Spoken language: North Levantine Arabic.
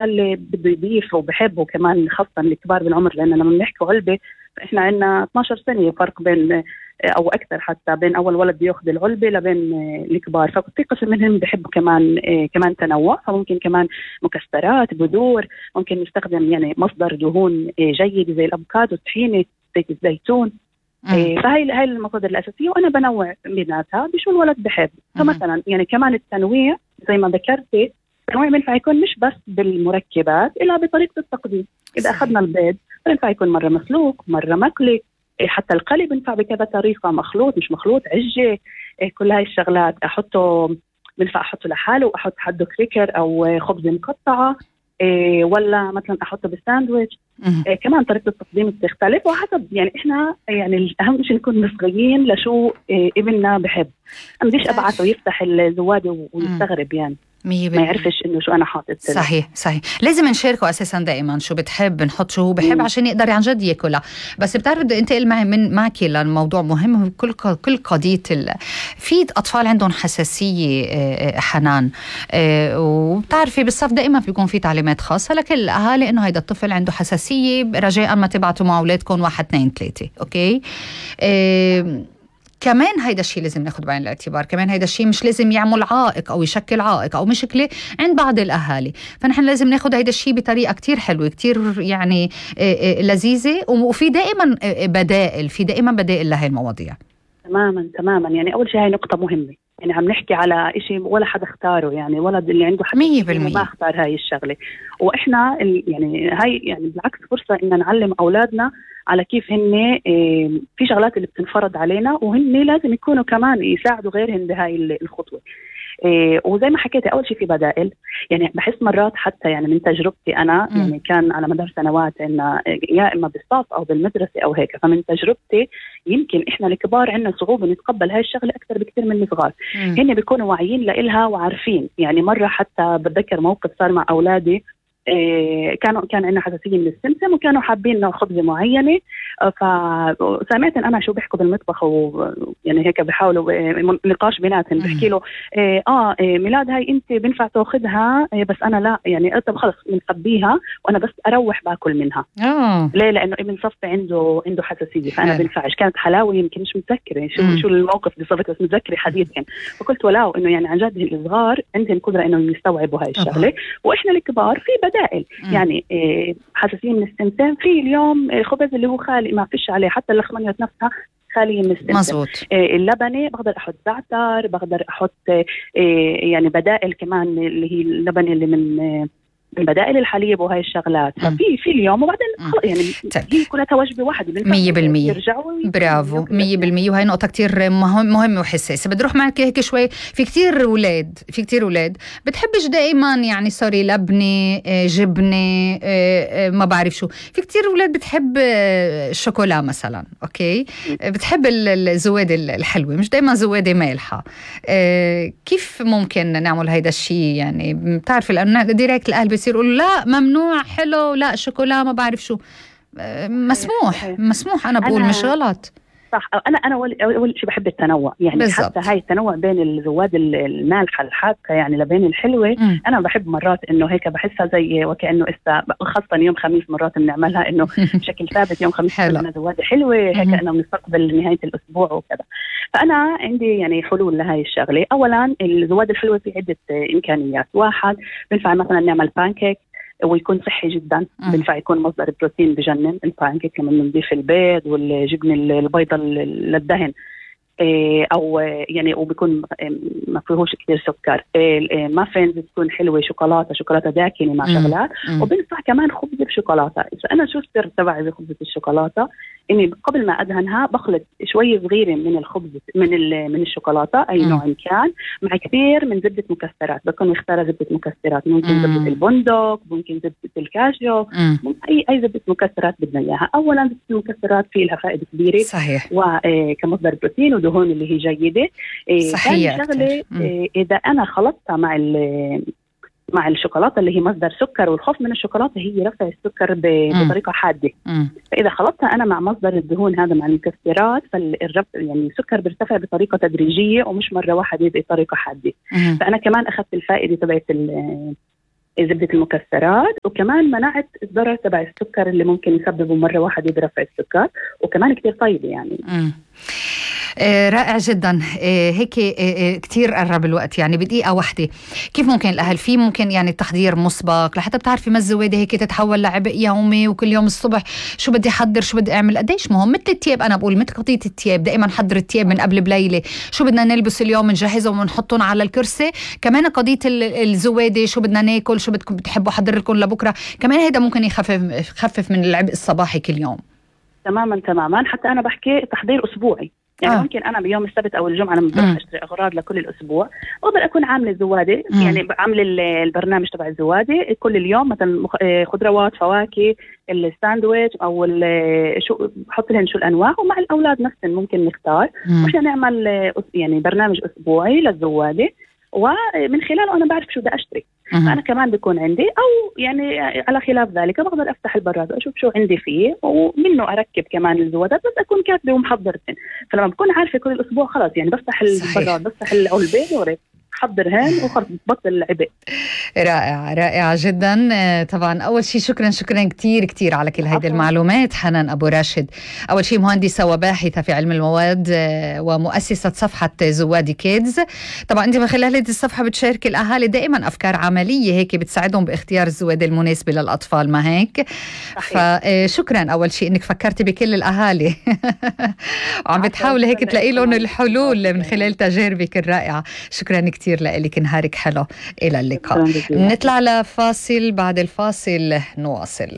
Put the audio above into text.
اللي بده يضيف وبحب، وكمان خاصة الكبار بالعمر، لأن لما بنحكي علبة فإحنا عندنا 12 سنة فرق بين أو أكثر حتى بين أول ولد بياخذ العلبة لبين الكبار. ففي قسم منهم بحبوا كمان تنوع، فممكن كمان مكسرات، بذور، ممكن نستخدم يعني مصدر دهون جيد زي الأفوكادو، الطحينة، زيت الزيتون. فهي المصادر الأساسية، وأنا بنوع بيناتها بشو الولد بحب. فمثلا يعني كمان التنويع زي ما ذكرتي، التنويع بينفع يكون مش بس بالمركبات إلا بطريقة التقديم. إذا أخذنا البيض بينفع يكون مرة مسلوق، مرة مقلي، حتى القلي بينفع بكذا طريقة، مخلوط مش مخلوط، عجة، كل هاي الشغلات بينفع أحطه لحاله وأحط حده كريكر أو خبز مقطعة، ولا مثلا أحطه بالساندويتش. كمان طريقة التقديم بتختلف وحسب يعني إحنا يعني الأهم شيء نكون مصغيين لشو ابننا بحب. أنا بديش أبعثه يفتح الزوادة ويستغرب يعني ما يعرفش إنه شو أنا حاطط. صحيح. لازم نشاركه أساسا دائما شو بتحب، نحط شو هو بحب عشان يقدر عن جد ياكلها. بس بتعرف بدي انتقل معك للموضوع مهم، كل قضية في أطفال عندهم حساسية حنان، وبتعرفي بالصف دائما بيكون في تعليمات خاصة لكل الأهالي إنه هيدا الطفل عنده حساسية، رجاء ما تبعتوا مع أولادكم 1 2 3. أوكي. كمان هيدا الشيء لازم ناخد بعين الاعتبار، كمان هيدا الشيء مش لازم يعمل عائق أو يشكل عائق أو مشكلة عند بعض الأهالي. فنحن لازم ناخد هيدا الشيء بطريقة كتير حلوة، كتير يعني لذيذة، وفي دائما بدائل لهي المواضيع. تماما يعني أول شيء هاي نقطة مهمة، يعني عم نحكي على إشي ولا حدا اختاره، يعني ولد اللي عنده حساسية ما اختار هاي الشغلة. وإحنا يعني هاي يعني بالعكس فرصة إن نعلم أولادنا على كيف هن في شغلات اللي بتنفرض علينا، وهن لازم يكونوا كمان يساعدوا غيرهم بهاي الخطوة. وزي ما حكيتي أول شيء في بدائل، يعني بحس مرات حتى يعني من تجربتي أنا يعني كان على مدار سنوات إن يا إما بالصف أو بالمدرسة أو هيك، فمن تجربتي يمكن إحنا الكبار عندنا صعوبة نتقبل هاي الشغلة أكثر بكثير من الصغار. هن بيكونوا واعيين لإلها وعارفين. يعني مرة حتى بتذكر موقف صار مع أولادي، كان عندنا حساسية من السمسم وكانوا حابين نوع خبزة معينة، فسمعت أنا شو بيحكوا بالمطبخ، ويعني هيك بيحاولوا نقاش بيناتهم. بحكي له ميلاد هاي أنت بينفع تأخذها، بس أنا لا، يعني طب خلص بنخبيها وأنا بس أروح باكل منها. ليه؟ لأنه ابن صفي عنده حساسية، فأنا بينفعش. كانت حلاوة يمكن مش متذكرة شو الموقف بالضبط، بس متذكرة حديثا. فقلت ولاو إنه يعني عن جد الصغار عندهم قدرة إنه يستوعبوا هاي الشغلة، وإحنا الكبار في بدائل. يعني حساسية من السمسم، في اليوم خبز اللي هو خالي ما فيش عليه، حتى اللخمنية نفسها خالية من السمسم. مزبوط. اللبنة بقدر أحط زعتر، بقدر أحط يعني بدائل كمان اللي هي اللبنة اللي من بدائل الحليب وهاي الشغلات. ففي اليوم وبعدين يعني هي كلها وجبة واحدة 100%. برافو 100%. وهي نقطة كتير مهمة وحساسة. بدي أروح معك هيك شوي. في كتير أولاد بتحبش دائما يعني سوري لبنة، جبنة، ما بعرف شو. في كتير أولاد بتحب الشوكولا مثلا. أوكي. بتحب الزوادة الحلوة، مش دائما زوادة مالحة. كيف ممكن نعمل هيدا الشيء؟ يعني بتعرف لأنه ديريكت الأهل بيصير يقولوا لا ممنوع، حلو، لا شوكولا، ما بعرف شو. مسموح أنا بقول مش غلط. صح. أنا أول شيء بحب التنوع، يعني بالزبط. حتى هاي التنوع بين الزواد المالحة الحادقة يعني لبين الحلوة. أنا بحب مرات إنه هيك بحسها زي وكأنه خاصة يوم خميس مرات بنعملها إنه بشكل ثابت يوم خميس عندنا زواد حلوة هيك إنه بنستقبل نهاية الأسبوع وكذا. فأنا عندي يعني حلول لهاي الشغلة. أولا الزواد الحلوة في عدة إمكانيات. واحد بنفع مثلا نعمل بانكيك ويكون صحي جدا. بينفع يكون مصدر بروتين بجنن البانكيك لما نضيف البيض والجبن البيضة للدهن، او يعني وبيكون ما فيهوش كثير سكر. مافينز بتكون حلوه، شوكولاته داكنه مع شغلات. وبنصح كمان خبزه بشوكولاته. اذا انا شو السر تبعي بخبزه الشوكولاته؟ اني قبل ما ادهنها بخلط شويه صغيره من الخبز من الشوكولاته اي نوع كان مع كثير من زبده مكسرات. بكون مختاره زبده مكسرات، ممكن زبده البندق، ممكن زبده الكاجو، اي زبده مكسرات بدنا اياها. اولا زبده المكسرات في لها فائده كبيره صحيح، وكمصدر بروتين ودهون اللي هي جيده. صحيح. شغله اذا انا خلطتها مع الشوكولاته اللي هي مصدر سكر، والخوف من الشوكولاته هي رفع السكر بطريقه حاده. فاذا خلطتها انا مع مصدر الدهون هذا مع المكسرات، يعني السكر بيرتفع بطريقه تدريجيه ومش مره واحده بطريقه حاده. فانا كمان اخذت الفائده تبعت زبدة المكسرات، وكمان منعت الضرر تبع السكر اللي ممكن يسببه مرة واحدة برفع السكر، وكمان كتير طيبة يعني. رائع جدا. هيك كتير قرب الوقت، يعني بدقيقة واحدة كيف ممكن الأهل في ممكن يعني تحضير مسبق لحتى بتعرفي ما الزوادة هيك تتحول لعبء يومي، وكل يوم الصبح شو بدي أحضر شو بدي أعمل قديش مهم. مثل التياب، أنا بقول مثل قضية التياب، دائما حضر التياب من قبل بليلة، شو بدنا نلبس اليوم نجهزهم ونحطهم على الكرسي. كمان قضية الزوادة شو بدنا ناكل شو بدكم بتحبوا أحضر لكم لبكرة، كمان هيدا ممكن يخفف من العبء الصباحي كل يوم. تماما. حتى أنا بحكي تحضير أسبوعي، يعني ممكن أنا بيوم السبت أو الجمعة لما بروح أشتري أغراض لكل الأسبوع بقدر أكون عاملة زوادة، يعني عاملة البرنامج تبع الزوادة كل اليوم، مثلا خضروات فواكه الساندويتش أو شو بحط لهم شو الأنواع، ومع الأولاد نفسهم ممكن نختار مشان نعمل يعني برنامج أسبوعي للزوادة، ومن خلاله أنا بعرف شو بدي أشتري. فأنا كمان بيكون عندي، أو يعني على خلاف ذلك بقدر أفتح البراد وأشوف شو عندي فيه ومنه أركب كمان الزوادات، بس أكون كاتبة ومحضرتين. فلما بكون عارفة كل أسبوع خلاص يعني بفتح البراد بفتح العلبة وريت حضرهن وخلص بطل العبء. رائعة جدا. طبعا أول شيء شكرا كتير على كل هيدي المعلومات حنان أبو راشد. أول شيء مهندسة وباحثة في علم المواد ومؤسسة صفحة زوادي كيدز. طبعا أنت من خلال هذه الصفحة بتشارك الأهالي دائما أفكار عملية هيك بتساعدهم باختيار الزوادة المناسبة للأطفال، ما هيك؟ فشكرا أول شيء إنك فكرتي بكل الأهالي وعم بتحاولي هيك تلاقي لهم الحلول من خلال تجاربك الرائعة. شكرا كتير لك، نهارك حلو، إلى اللقاء. نطلع لفاصل، بعد الفاصل نواصل.